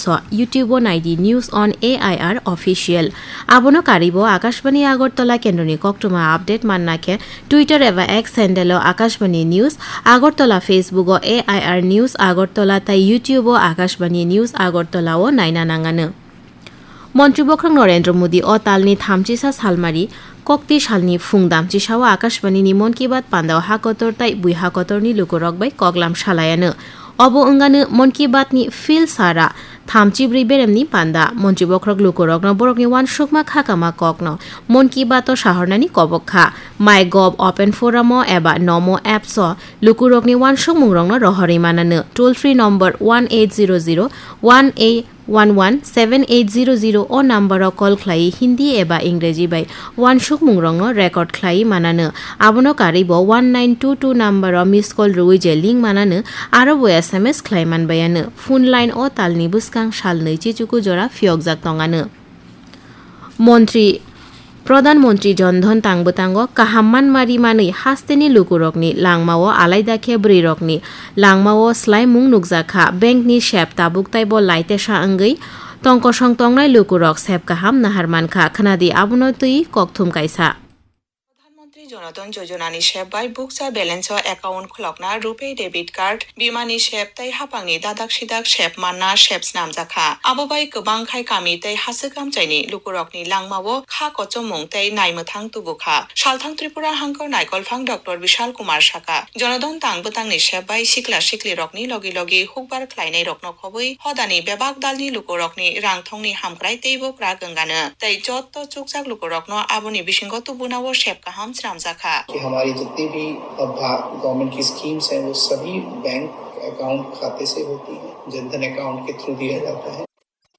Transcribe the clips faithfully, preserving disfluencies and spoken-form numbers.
So, YouTube o naidi News on A I R Official. Abono karibo Akashbani Agartala kendroni koktwma update manna khe Twitter eba X handle o Akashbani News Agartala, Facebook o A I R News Agartala tai YouTube o Akashbani News Agartala o naina nangano. Montri Bokhorok Narendra Modi o talni thamchisa salmari kokti salni phung damchisao Akashbani ni Mon Ki Baat pandao hakotor tai bui hakotorni lukurok bai koklam salayano. Obo wngano Mon Ki Baat ni phil sara thamchibrwi beremni panda. Montri Bokhorok lukurokno borokni uansukma khakama kokno Mon Ki Baat o sahornani kobok kha. MyGov Open Forum o eba Nomo Apps o lukurokni uansukmungrokno rohorwi manano. Toll free number one eight zero zero one eight one one seven eight zero zero o number o call khlai Hindi eba Ingreji bai uansukmungrokno record khlai manano. Abono karwi bo one nine two two number o miss call rwui je link manano, aro bo S M S khlai manbayano. Phone line o talni bwskang sal nwi chichuku jora phiyokjak tongano. Montri, Pradhan Montri Jan Dhan tang bwtango kaham manma ri manwi hasteni lukurokni langmao alaida khe bwrwirokni langmao swlaimung nukjakha. Bankni sep tabuk taibo laitesa wngwi tongkosong tongnai lukurok sep kaham nahar mankha. Khwnadi abono twi kokthum kaisa. Pradhan Montri Jan Dhan Yojana ni sep bai bukcha balance o account khulokna, RuPay debit card, bimani sep tei haphangni dadak sidak sep manna sep snamjakha. Abo bai kwbang khai kami tei haswk amchaini lukurokni langmao kha kochomung tei naimwthang tubukha. Salthang Tripura hangkor naikolphang Doctor Bishal Kumar sakha, Jan Dhan tang bwtangni sep bai sikla siklirokni logi logi hukbar khlainairokno khobwi hodani bebak dalni lukurokni rangthongni hamkrai teibo kwrak wngano tei jotto chukjak lukurokno aboni bisingo tubunao sep kaham swnamjakha. कि हमारी जितनी भी अब भा-, गवर्नमेंट की स्कीम्स हैं, वो सभी बैंक अकाउंट खाते से होती हैं, जनधन अकाउंट के थ्रू दिया जाता है।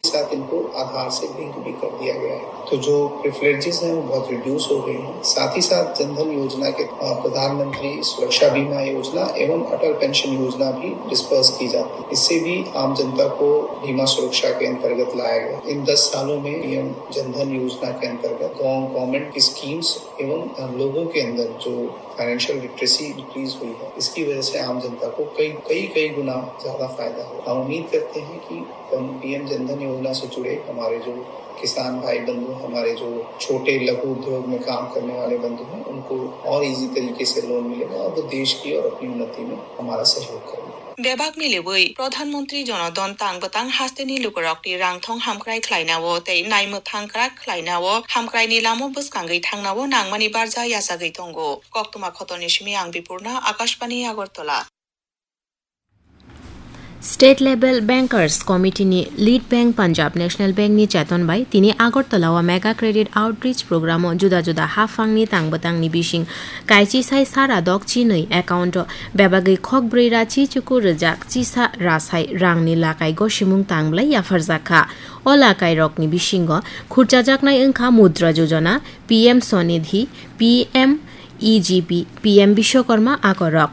साथ इनको आधार से लिंक भी कर दिया गया है। तो जो प्रिविलेजेस हैं, वो बहुत रिड्यूस हो गए हैं। साथ ही साथ जनधन योजना के, अ, प्रधानमंत्री सुरक्षा बीमा योजना एवं अटल पेंशन योजना भी डिस्पर्स की जाती है। इससे भी आम जनता को बीमा सुरक्षा के अंतर्गत लाया गया। इन दस सालों में पीएम जनधन योजना के अंतर्गत गव-, गवर्नमेंट की स्कीम्स एवं, अ, लोगों के अंदर जो फाइनेंशियल लिटरेसी इंक्रीज हुई है, इसकी वजह से आम जनता को कई, कई, कई गुना ज्यादा फायदा हुआ। हम उम्मीद करते हैं कि हम पीएम जनधन योजना से जुड़े हमारे जो किसान भाई बंधु हैं, हमारे जो छोटे लघु उद्योग में काम करने वाले बंधु हैं, उनको और ईजी तरीके से लोन मिलेगा और वो देश की और अपनी उन्नति में हमारा सहयोग करेंगे। Bebak milibwi Pradhan Mantri Jan Dhan tang bwtang hasteni lukurokni rangthong hamkrai khlainao tei naimwthang kwrak khlainao hamkraini lama bwskangwi thangnao nangmani barja yachagwi tongo. Koktwma khotoni simi ang Bipurna, Akashbani Agartala. State Level Bankers Committee ni Lead Bank Punjab National Bank ni Chetan bai tini Agartala o Mega Credit Outreach Program o juda juda haphang ni tang bwtang ni bising kaichi sai sara dok chinwi account o bebagwi khok brwi ra chi chuku rwjak chisa rasai rang ni lakai gosimung tang bwlai yapharjak kha. O lakai rok ni bisingo khurchajaknai wngkha Mudra Yojana, P M Swanidhi, P M E G P, P M Bishwakarma akorok.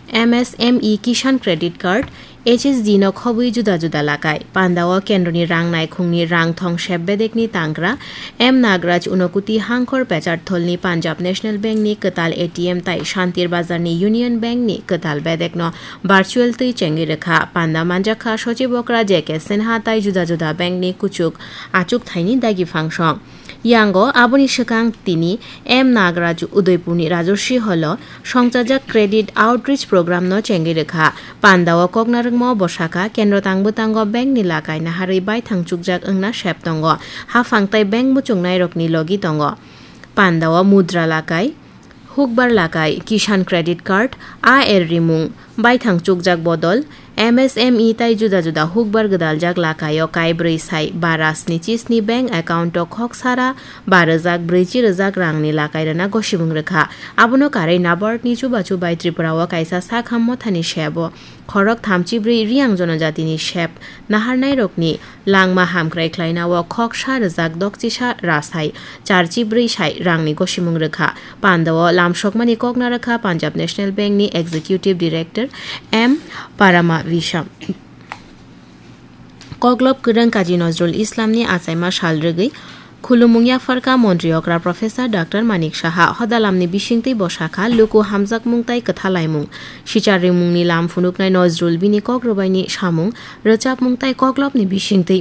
M S M E Kisan Credit Card, H S D no khobwi juda juda lakai. Pandao kendroni rang naikhungni rang thong sep bedekni tangra M Nagraj Unokuti Hangkhor Pechartholni Punjab National Bank ni kwtal A T M tai Shantir Bazar ni Union Bank ni kwtal bedekno virtual twi chengwi rwkha. Panda manjakha Sochib Okra J K Sinha tai juda juda bank ni kuchuk achuk thaini dagi phangsong. Yango aboni swkang tini M Nagraj Udaipurni Rajorshi Hall o songchajak Credit Outreach Program no chengwi rwkha. Pandao koknarwkma bwsakha kendro tang bwtango bank ni lakai naharwi baithang chukjak wngna sep tongo. Haphang tai bank muchungnairokni logi tongo. Pandao Mudra lakai, Hukbar lakai, Kisan Credit Card, A R rimung, baithang chukjak bodol, M S M E tai juda juda hukbar gwdaljak lakaio kaibrwi sai bara sni chi sni bank account o khok sara ba rwjak brwichi rwjak rangni lakai rwna gosimung rwkha. Abono karwi NABARD ni chubachu bai Tripura o kaisa sakham mothani sebo khorok thamchi brwi Riyang Jonojatini sep naharnairokni langma hamkrai khlainao khok sa rwjak dokchisa rasai charchi brwi sai rangni gosimung rwkha. Pandao lamsokmani kokna rwkha Punjab National Bank ni Executive Director M Parama Visham. Koklop kwrwng Kazi Nazrul Islamni achaima sal rwgwi khulumung yapharkha Montri okra Professor Doctor Manik Saha. Hodalamni bisingtwi bwsakha luku hamjakmung tai kwthalaimung. Sichar rimungni lam phunuknai Nazrul bini kok rwbaini samung, rwchapmung tai koklopni bisingtwi